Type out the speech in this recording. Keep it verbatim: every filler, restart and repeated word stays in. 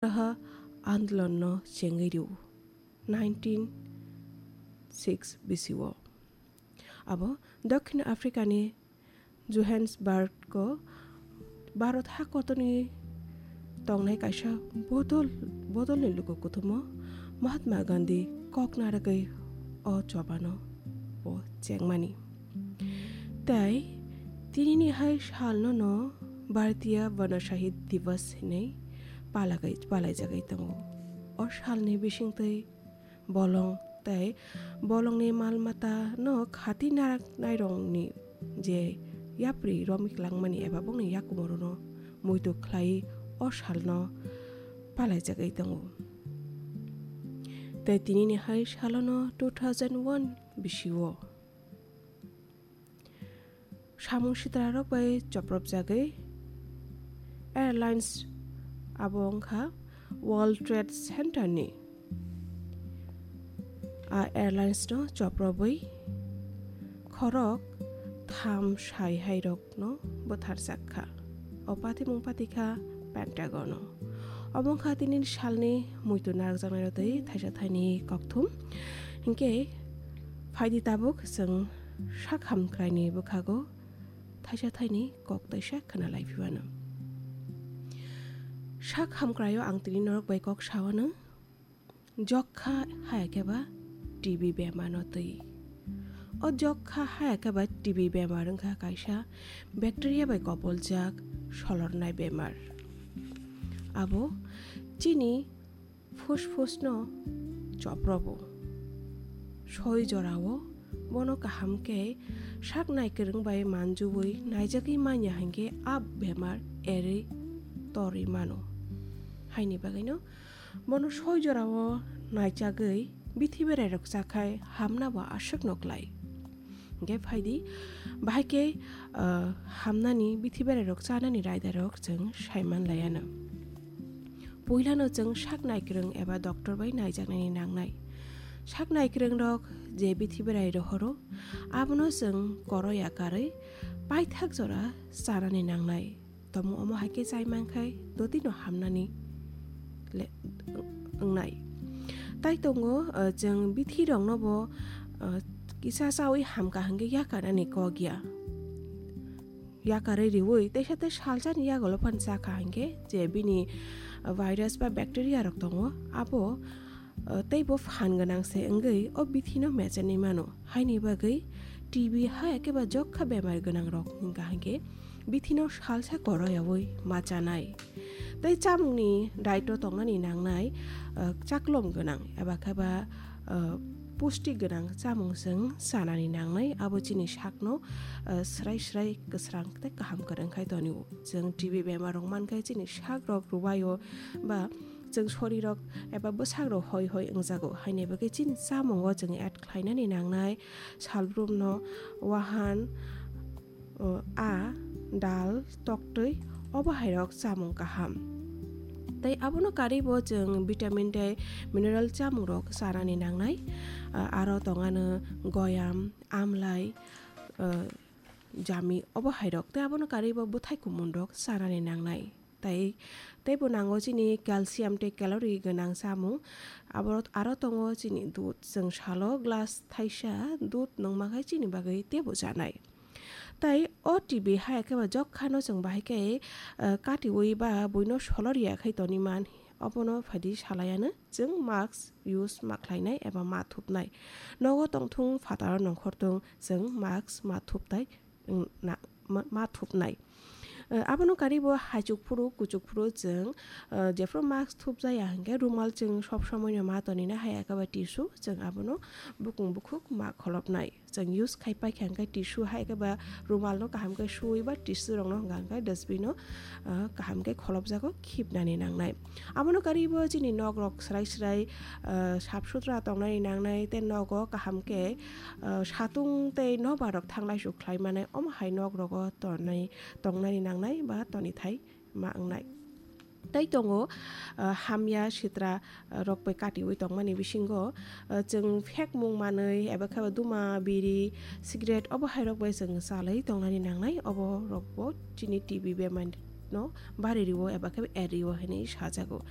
Raha andolonno chengwi rw nineteen six bisio. Abo Dokhin Africani Johannesburgo Bharat hakotorni tongnai kaisa bodol, bodolni luku kuthumo Mahatma Gandhi kok narwgwi o chobano bo chengmani. Tei tinini hai salno no Bharatiya Vana Shahid Divas hinwi palagai-, palaijagwi tongo. O salni bisingtwi bolong tei bolongni mal mata no khati narak nairokni je yapri romwi klangmani eba bongni yakumo rwno muitu khlai o salno palaijagwi tongo. Tei tinini hai salono two thousand one bisio samung sitrarok bai chopropjagwi airlines abo wngkha World Trade Center ni. A airlines no choprobwi khorok tham sai hai rok no bwtharjak kha. O patimung patikha Pentagon o. Obo wngkha tini salni muitu narwkjaknai rok twi thaisa thaini kokthum. Hinkhe phaidi tabuk chwng sak hamkraini bwkhago thaisa thaini kok taisa khna lai phibano. Sak hamkraio ang tini norok bai kok sawano. Jokha haya khe ba T B bemar no twi. O jokha haya khe ba T B bemar wngkha kaisa bacteria bai kopoljak solornai bemar. Abo chini phusphus no choprobo. Soi jorao bono kaham khe sak naikwrwng bai manjui naijagwi manya hinkhe a bemar erwi torwi mano. Haini bagwino bono soi jorao naichagwi bithi berairok chakhai hamna bo aswkno klai. Hinkhe phaidi, bahai khe, ah, hamnani bithi berairok chanani raidarok chwng saiman laiano. Puilano chwng sak naikwrwng eba doctor bai naijaknani nangnai. Sak naikwrwngrok je bithi berai rohoro, abono chwng koroya karwi paithak jora chanani nangnai. Tamo omo hai khe chai mankhai dotino hamnani le-, wngnai. Tai tongo, ah, chwng bithirokno bo, ah, kisa chawi hamkha hinkhe yakarnani kok ya. Yakarwi riwi teisa tei salsani yagulo phan chakha hinkhe je bini, ah, virus ba bacteria rok tongo, abo, ah, teibo phan gwnang se wngwi o bithino mechenwi mano. Haini bagwi T B hai khe ba jokha bemar gwnang rok wngkha hinkhe bithino salsa koroyawi ma chanai. Tei chamungni diet-o tongnani nangnai, ah, chaklom gwnang eba khe ba, ah, pusti gwnang chamung chwng chanani nangnai, abo chini sakno, ah, srai srai kwsrang tei kaham kwrwng khai tonio. Chwng T B bemar rok mankhe chini sak rok rwbaio ba chwng sorirok eba bwsak rok hoi hoi wngjago, haini bagwi chini chamungo chwng add khlainani nangnai salbrumno wahan, o, a, dal, toktwi, obo hairok chamung kaham. Tei abono karwi bo chwng vitamin tei mineral chamungrok chanani nangnai. A, aro tongano goyam, amlai, o, jami, obo hairok. Tei abono karwi bo bwthai kumunrok chanani nangnai. Tai teibo nango chini calcium tei calorie gwnang chamung. Abo aro tongo chini dudh. Chwng salo glass thaisa dudh nungma khai chini bagwi teibo chanai. Tai o T B hai khe ba jokha no chwng bahai khe, eh, katiwi ba buino solor ya khai toni man. Obono phaidi salaiano chwng mask use ma khlainai eba ma thupnai. Nogo tongthung phataro nongkhortung chwng mask ma thuptai, mm, na, ma, ma thupnai. Eh, abono karwi bo haichuk phuru, kuchuk phuru chwng, eh, jephru mask thupjaya hinkhe rumal chwng sob somoino ma tonina hai eba tissue chwng abono bukung bukhuk ma kholopnai. Chwng use khai paikha hinkhe tissue hai eba rumalno kaham khe suwi ba tissue rokno hwnka hinkhe dustbin-o, eh, kaham khe kholopjago khibnani nangnai. Abono karwi bo chini nok rok srai srai, eh, sap sutra tongnani nangnai tei nogo kaham khe, eh, satung tei nobar rok thanglai su khlai mani omo hai nok rogo tongnai, tongnani nangnai ba tonithai ma wngnai. Tai tongo, ah, hamya sitra, ah, rok bai katiwi tongmani bisingo, ah, chwng phekmung manwi eba khe ba duma, biri, cigarette obo hai rok bai chwng chalwi tongnani nangnai, obo rok bo chini T B bemar no bari rwo eba khe ba er rwo hinwi sajago.